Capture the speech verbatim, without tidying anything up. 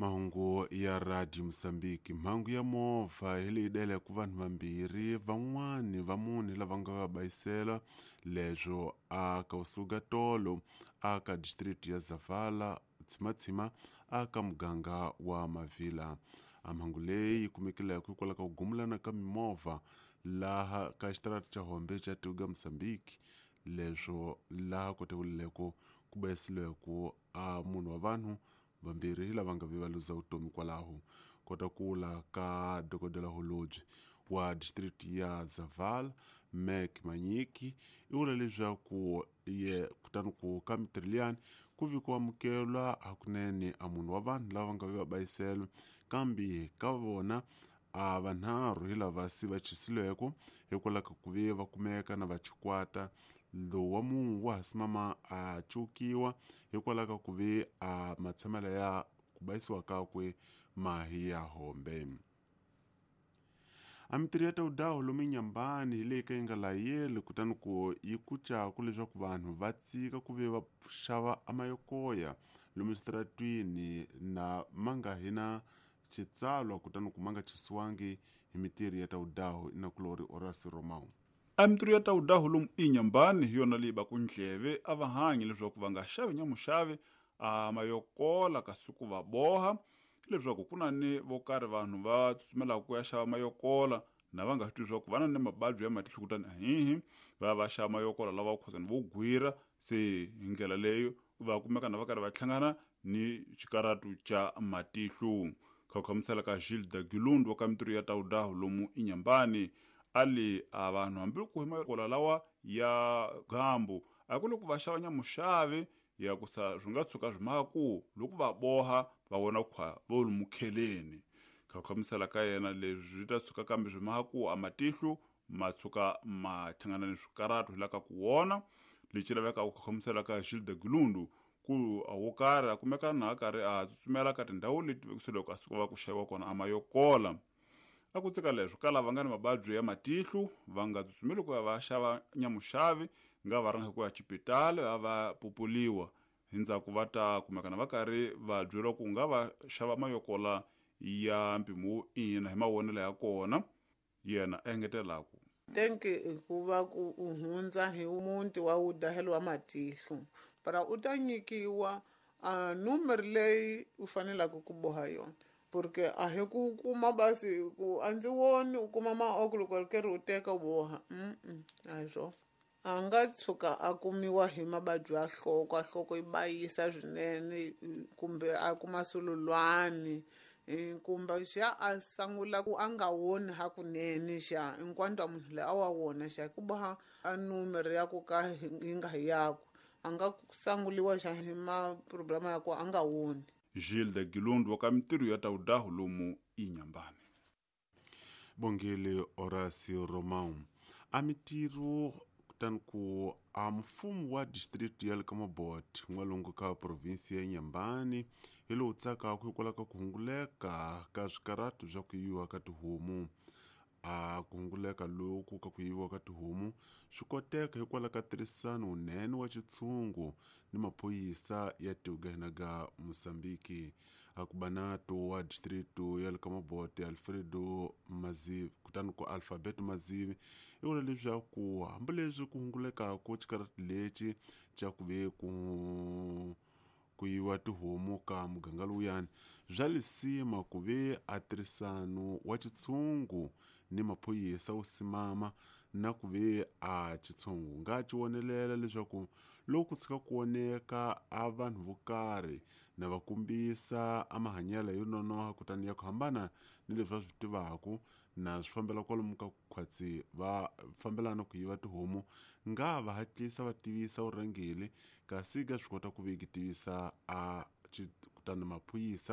Mahungu ya Radio Mozambique. Mhangu ya movha hi leyi deleke vanhu vambirhi van'wani va mune lava nga va bayisela leswo a ka usuka tolo a ka district ya Zavala tsimatsima a ka muganga wa Mavila. A mhangu leyi yi kumekileke hikwalaho ka ku gumulana ka mimovha laha ka xitarata xa Hombe xa Tuga Mozambique leswo laha kotewileko ku bayisiliweke a munhu wa vanhu vambirhi lava nga ve va luza vutomi kwalaho. Kota kula ka dokodela Holobye wa district ya Zavala Mac Manyiki i vula leswaku ye kutani ku ka mitirho liyani ku vi ku amukelwa hakunene a munhu wa vanhu lava nga ve va bayisela, kambe ka vona a vanharhu hi lava se va chisilweke hikwalaho ka ku ve va kumeka na va chikwata. Lowu wa munhu wa ha simama a cukiwa hikwalaho ka ku ve a matshamelo ya ku bayisiwa kakwe ma hi ya hombe. A mitirho ya tawudawu lomu Inhambane hi leyi ka yi nga layeli kutani ku yi kucaku leswaku vanhu va tsika ku ve va xava amayokoya lomu switaratwini na ma nga hi na xitsalwa kutani ku ma nga chisiwangi hi mitirho ya tawudawu inakulori Horace Romão. A mitirho ya tawudawu lomu Inhambane hi yona leyi baku ndleve a va hanyi leswaku va nga xavi nyamuxavi a mayokola kasi ku va boha leswaku ku na ni vo karhi vanhu va tsutsumelaka ku ya xava mayokola na va nga swi tivi leswaku va na ni mavabyi ya matihlo kutani ahihi va va xava mayokola lava khosani vo gwira se hi ndlela leyo va kumeka na va karhi va hlangana ni xikaratu xa matihlo. Kha ku hlamusela ka Gilda Gilundu wa ka mitirho ya tawudawu lomu Inhambane ali a vanhu hambi ku hi mayokola lawa ya gambu a ku loko va xava nyamuxavi ya ku sa swi nga tshuka swi maka ku loko va boha va vona khwa vo lumukheleni. Kha ku hlamusela ka yena leswi swi ta tshuka kambe swi maka ku a matihlo ma tshuka ma hlangana ni swikaratu hi la ka ku wona. Lexi lavekaka ku hlamusela ka Gilda Gilundu ku a wo karhi a kumeka na a karhi a tsutsumela ka tindhawu leti vekisiweke a suka va ku xaviwa kona a mayokola. A ku tsika leswo ka lava nga ni mavabyi ya matihlo va nga tsutsumeli ku ya va xava nyamuxavi nga va rhanga ku ya xipitali va va pupuliwa hi ndzhaku va ta kumekana va karhi va byeriwa ku nga va xava mayokola ya mpimo wo ina hi mavonelo ya kona. Yena a engetelaku tenke hikuva ku u hundza hi muti wa wudahelo wa matihlo para u ta nyikiwa a numero leyi u faneleke ku boha yona porque a hi ku kuma basi ku a ndzi voni u kuma maoko loko ri karhi u teka u boha mm a hi swona. A nga tshuka a kumiwa hi mavabyi ya nhloko, a nhloko yi bayisa swinene kumbe a kuma sululwani kumbe xa a sungula ku a nga woni hakunene xa hinkwato munhu loyi a wa wona xa ku boha a numero ya ku ka yi nga hi yakwe a nga sanguliwa xa hi ma-problem ya ku a nga woni. Gilda Gilundu wa ka mitirho ya tawudawu lomu Inhambane. Bongile Horace Romão. A mitirho kutani ku a mfumo wa district ya le ka Mabote n'walungu ka provinsi ya Inhambane hi lowu tsakaka hikwalaho ka ku hunguleka ka swikaratu swa ku yiviwa ka tihomu. A ku hunguleka loku ka ku yiviwa ka tihomu swi koteka hikwalaho ka tirhisano wunene wa xitshungu ni maphorisa ya tiko ga Mozambique. A ku banato wa district ya le ka Mabote Alfredo Mazivi kutani ku Alphabet Mazivi i vula leswaku hambileswi ku hungulekaka xikaratu lexi xa ku ve ku ku yiviwa tihomu ka muganga lowuyani bya lisima ku ve a tirhisano wa xitshungu ni maphorisa wu simama na ku ve a xitshungu nga ci vonelela leswaku loko ku tshika ku voneka a vanhu vo karhi na va kombisa a mahanyelo yo nonoha kutani ya ku hambana ni leswi va swi tivaka na swi fambela kwalomu ka khwatsi va fambelana ku yiva tihomu nga va hatlisa va tivisa vurhangeri kasi ka swi kota ku ve ki tivisa a kutani maphorisa.